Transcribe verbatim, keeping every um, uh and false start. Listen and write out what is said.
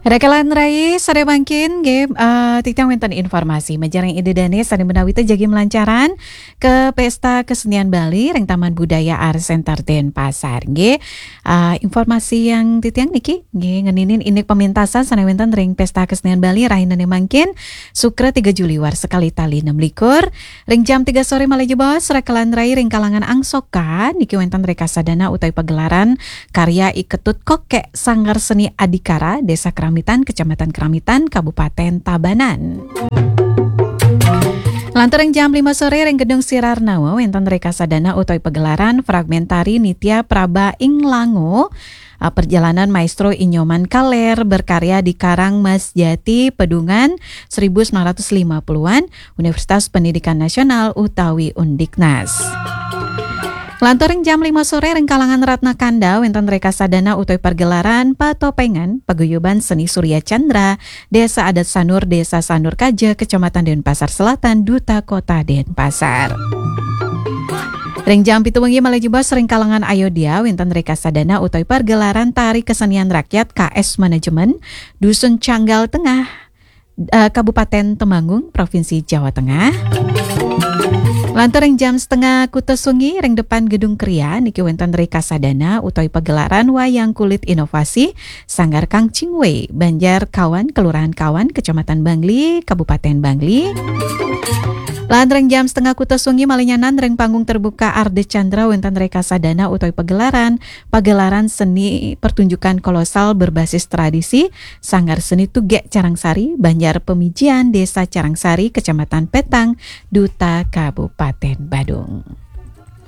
Rakalan rai, sore mangkin nggih, eh, titiang wénten informasi majareng Ida Dané sané menawi jagi melancaran ke Pesta Kesenian Bali ring Taman Budaya Art Center Denpasar nggih. Eh, informasi yang titiang niki nggih ngeninin indik pemintasan sané wénten ring Pesta Kesenian Bali rahinané mangkin Sukra tiga Juli warsa kalih tali enam likur ring jam tiga sore malih jebos. Rakalan rai, ring kalangan angsoka niki wénten rekasadana utawi pagelaran karya I Ketut Kokék Sanggar Seni Adhikara, Desa Keramitan, Kecamatan Keramitan, Kabupaten Tabanan. Lantur ring jam lima sore ring Gedung Sirar Nawa wénten rekasadana utawi pagelaran fragmentari Nitya Praba ing Lango, eh, perjalanan Maestro Inyoman Kaler berkarya di Karang Mas Jati Pedungan seribu sembilan ratus lima puluhan, Universitas Pendidikan Nasional utawi Undiknas. Lantur ring jam lima sore ring kalangan Ratna Kanda wénten rekasadana utawi pagelaran Patopengan Paguyuban Seni Surya Chandra, Desa Adat Sanur, Desa Sanur Kaja, Kecamatan Denpasar Selatan, Duta Kota Denpasar. Ring jam pitu wengi malih jebos ring kalangan Ayodya wénten rekasadana utawi pagelaran tari kesenian rakyat K S Manajemen, Dusun Canggal Tengah, eh, Kabupaten Temanggung, Provinsi Jawa Tengah. Lantur ring jam setengah kutus wengi ring depan Gedung Kria niki wénten rekasadana utawi pagelaran wayang kulit inovasi Sanggar Kang Ching Wei, Banjar Kawan, Kelurahan Kawan, Kecamatan Bangli, Kabupaten Bangli. Lan ring jam setengah kutus wengi malih nyanan ring panggung terbuka Ardha Candra wénten rekasadana utawi pagelaran, pagelaran seni pertunjukan kolosal berbasis tradisi Sanggar Seni Tugék Carangsari, Banjar Pemijian, Desa Carangsari, Kecamatan Petang, Duta, Kabupaten Badung.